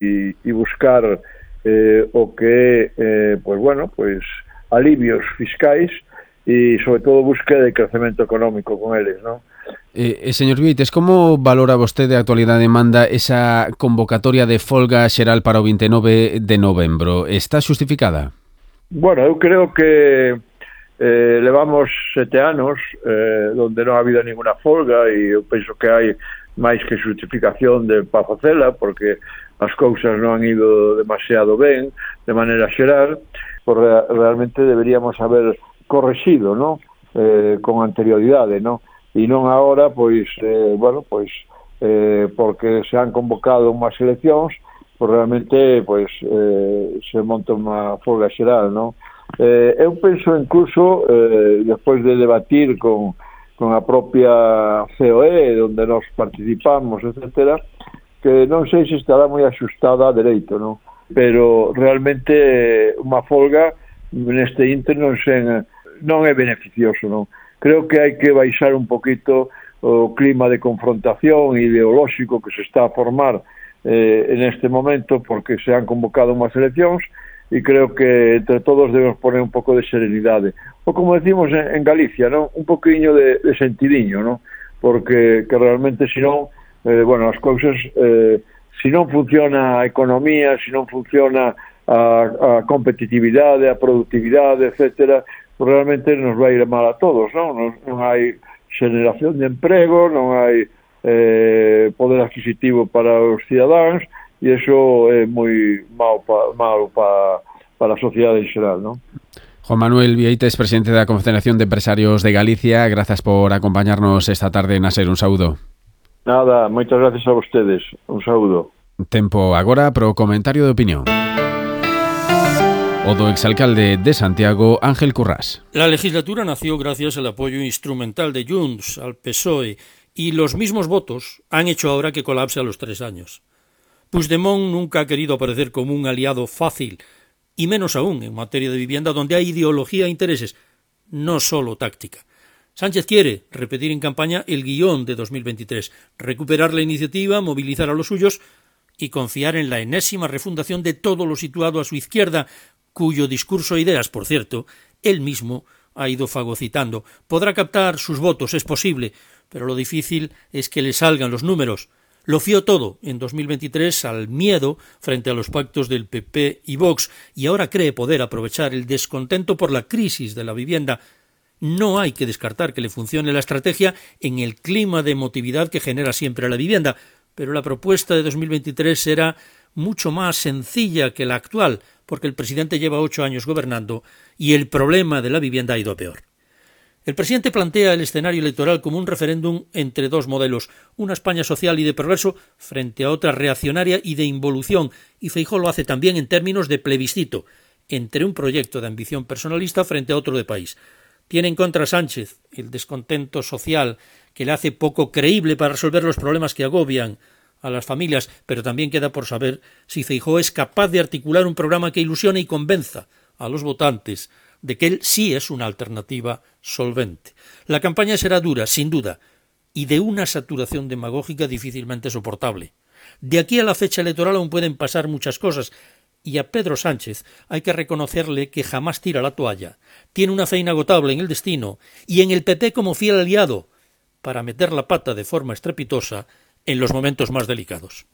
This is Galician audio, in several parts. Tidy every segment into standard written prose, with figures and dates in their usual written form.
e buscar o que é, alivios fiscais e, sobre todo, búsqueda de crecemento económico con eles, non? Señor Vieites, como valora vostede a actualidade manda esa convocatoria de folga xeral para o 29 de novembro? Está xustificada? Bueno, eu creo que levamos 7 anos onde non ha habido ninguna folga e eu penso que hai máis que justificación para facela, porque as cousas non han ido demasiado ben de maneira xeral, porque realmente deberíamos haber correxido, non? Con anterioridade, non? E non agora, porque se han convocado unhas eleccións, realmente se monta unha folga xeral, non? Eu penso incluso, despois de debatir con a propia COE, onde nos participamos, etcétera, que non sei se estará moi axustada a dereito, non? Pero realmente unha folga neste inter non é beneficioso, non? Creo que hai que baixar un poquito o clima de confrontación ideolóxico que se está a formar en este momento, porque se han convocado unhas eleccións e creo que entre todos debemos poner un pouco de serenidade. Ou como decimos en Galicia, non? Un poquinho de sentidiño, non? Porque que realmente, senón, as cousas, se non funciona a economía, se non funciona a competitividade, a productividade, etcétera, realmente nos vai ir mal a todos, non? Non hai xeneración de emprego, non hai poder adquisitivo para os cidadáns, e iso é moi malo para a sociedade en xeral, non? Juan Manuel Vieites, presidente da Confederación de Empresarios de Galicia, grazas por acompañarnos esta tarde na SER. Un saúdo. Nada, moitas gracias a vostedes. Un saúdo. Tempo agora pro comentario de opinión. O do exalcalde de Santiago, Ángel Currás. La legislatura nació gracias al apoyo instrumental de Junts al PSOE y los mismos votos han hecho ahora que colapse a los 3 años. Puigdemont nunca ha querido aparecer como un aliado fácil, y menos aún en materia de vivienda donde hay ideología e intereses, no solo táctica. Sánchez quiere repetir en campaña el guión de 2023, recuperar la iniciativa, movilizar a los suyos y confiar en la enésima refundación de todo lo situado a su izquierda, cuyo discurso e ideas, por cierto, él mismo ha ido fagocitando. Podrá captar sus votos, es posible, pero lo difícil es que le salgan los números. Lo fió todo en 2023 al miedo frente a los pactos del PP y Vox, y ahora cree poder aprovechar el descontento por la crisis de la vivienda. No hay que descartar que le funcione la estrategia en el clima de emotividad que genera siempre la vivienda, pero la propuesta de 2023 será mucho más sencilla que la actual, porque el presidente lleva 8 años gobernando y el problema de la vivienda ha ido a peor. El presidente plantea el escenario electoral como un referéndum entre 2 modelos, una España social y de progreso frente a otra reaccionaria y de involución, y Feijóo lo hace también en términos de plebiscito, entre un proyecto de ambición personalista frente a otro de país. Tiene en contra Sánchez el descontento social que le hace poco creíble para resolver los problemas que agobian a las familias, pero también queda por saber si Feijóo es capaz de articular un programa que ilusione y convenza a los votantes de que él sí es una alternativa solvente. La campaña será dura, sin duda, y de una saturación demagógica difícilmente soportable. De aquí a la fecha electoral aún pueden pasar muchas cosas, y a Pedro Sánchez hay que reconocerle que jamás tira la toalla. Tiene una fe inagotable en el destino y en el PP como fiel aliado para meter la pata de forma estrepitosa en los momentos más delicados.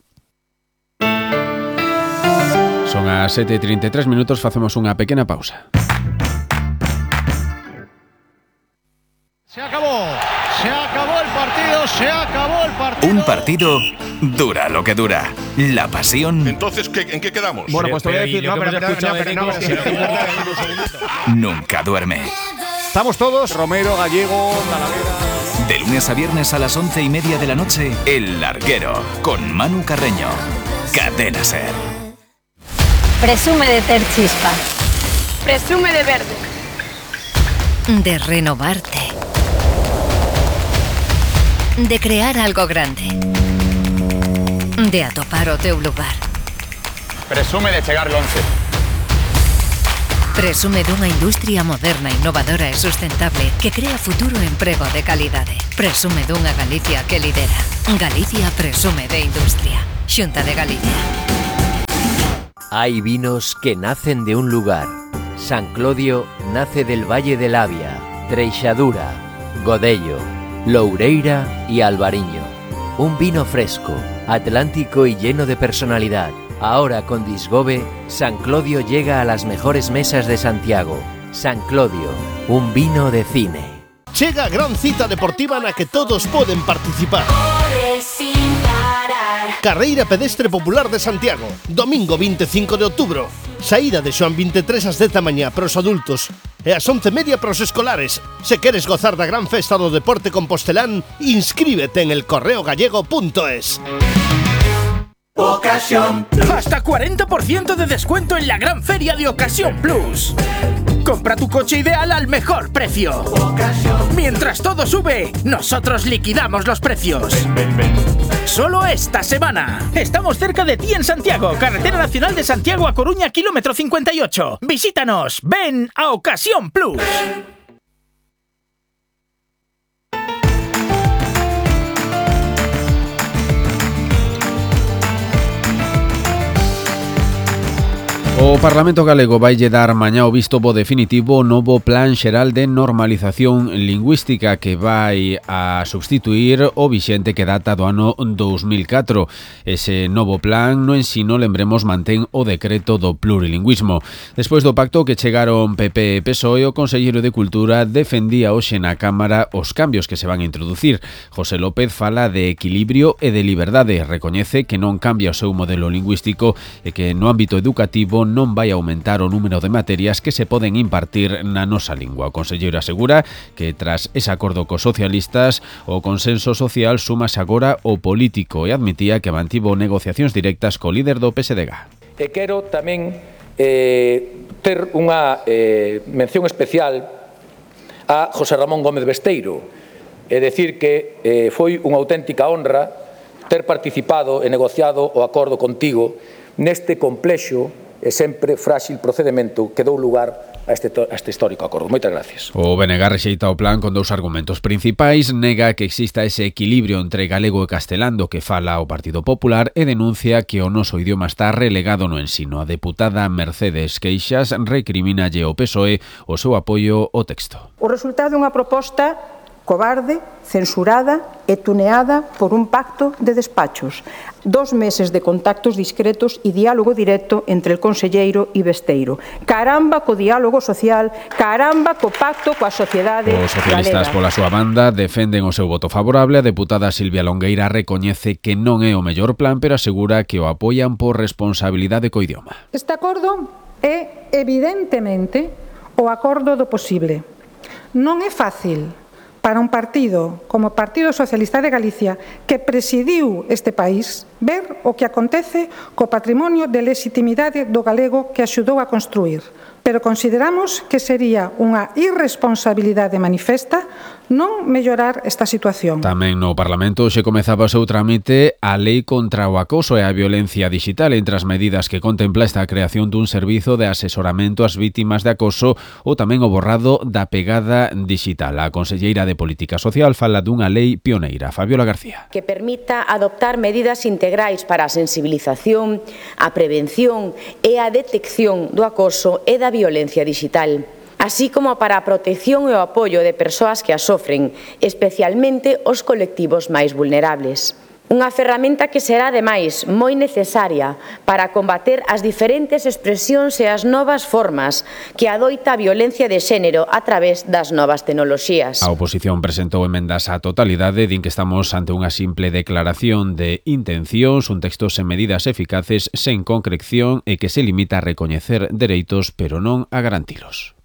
Son as 7:33 minutos, facemos unha pequena pausa. Se acabó el partido, se acabó el partido. Un partido dura lo que dura. La pasión. Entonces, ¿en qué quedamos? Bueno, pues te voy a decir, Nunca duerme. Estamos todos, Romero, Gallego, Talavera. De lunes a viernes a las 11:30 de la noche, El Larguero, con Manu Carreño. Cadena SER. Presume de ter chispa. Presume de verde. De renovarte. De crear algo grande. De atopar o teu lugar. Presume de chegar longe. Presume dunha industria moderna, innovadora e sustentable que crea futuro e emprego de calidade. Presume dunha Galicia que lidera. Galicia presume de industria. Xunta de Galicia. Hay vinos que nacen de un lugar. San Clodio nace del Valle del Avia, Treixadura, Godello, Loureira y Albariño. Un vino fresco, atlántico y lleno de personalidad. Ahora con Disgobe, San Clodio llega a las mejores mesas de Santiago. San Clodio, un vino de cine. Chega a gran cita deportiva na que todos poden participar. Carreira Pedestre Popular de Santiago, domingo 25 de outubro. Saída de Xoán 23 ás 10 da mañá para os adultos e ás 11:30 para os escolares. Se queres gozar da gran festa do deporte compostelán, inscríbete en elcorreogallego.es. Ocasión Plus. Hasta 40% de descuento en la gran feria de Ocasión Plus. Compra tu coche ideal al mejor precio. Mientras todo sube, nosotros liquidamos los precios. Solo esta semana. Estamos cerca de ti en Santiago, Carretera Nacional de Santiago a Coruña, kilómetro 58. Visítanos, ven a Ocasión Plus. O Parlamento Galego vai lle dar mañá o visto bo definitivo ao novo Plan Xeral de Normalización Lingüística que vai a substituir o vixente que data do ano 2004. Ese novo plan no ensino, lembremos, mantén o decreto do plurilingüismo. Despois do pacto que chegaron PP e PSOE, o conselleiro de Cultura defendía hoxe na Cámara os cambios que se van a introducir. José López fala de equilibrio e de liberdade. Recoñece que non cambia o seu modelo lingüístico e que no ámbito educativo non vai aumentar o número de materias que se poden impartir na nosa lingua. O conselleiro asegura que tras ese acordo cos socialistas o consenso social súmase agora o político e admitía que mantivo negociacións directas co líder do PSDG. E quero tamén ter unha mención especial a José Ramón Gómez Besteiro e decir que foi unha auténtica honra ter participado e negociado o acordo contigo neste complexo e sempre frágil procedimento que dou lugar a este histórico acordo. Moitas gracias. O BNG rexeita o plan con dous argumentos principais. Nega que exista ese equilibrio entre galego e castelán do que fala o Partido Popular e denuncia que o noso idioma está relegado no ensino. A deputada Mercedes Queixas recrimínalle ao PSOE o seu apoio ao texto. O resultado é unha proposta cobarde, censurada e tuneada por un pacto de despachos. 2 meses de contactos discretos e diálogo directo entre el conselleiro e Besteiro. Caramba co diálogo social, caramba co pacto coa sociedade galega. Os socialistas pola súa banda defenden o seu voto favorable. A deputada Silvia Longueira recoñece que non é o mellor plan, pero asegura que o apoian por responsabilidade co idioma. Este acordo é evidentemente o acordo do posible. Non é fácil para un partido como o Partido Socialista de Galicia, que presidiu este país, ver o que acontece co patrimonio de legitimidade do galego que axudou a construir. Pero consideramos que sería unha irresponsabilidade manifesta non mellorar esta situación. Tamén no Parlamento xe comezaba o seu trámite a Lei contra o acoso e a violencia digital, entre as medidas que contempla esta creación dun servizo de asesoramento ás vítimas de acoso ou tamén o borrado da pegada digital. A conselleira de Política Social fala dunha lei pioneira. Fabiola García. Que permita adoptar medidas integrais para a sensibilización, a prevención e a detección do acoso e da violencia digital, así como para a protección e o apoio de persoas que a sofren, especialmente os colectivos máis vulnerables. Unha ferramenta que será, ademais, moi necesaria para combater as diferentes expresións e as novas formas que adoita a violencia de xénero a través das novas tecnoloxías. A oposición presentou emendas á totalidade, din que estamos ante unha simple declaración de intencións, un texto sen medidas eficaces, sen concreción e que se limita a recoñecer dereitos, pero non a garantilos.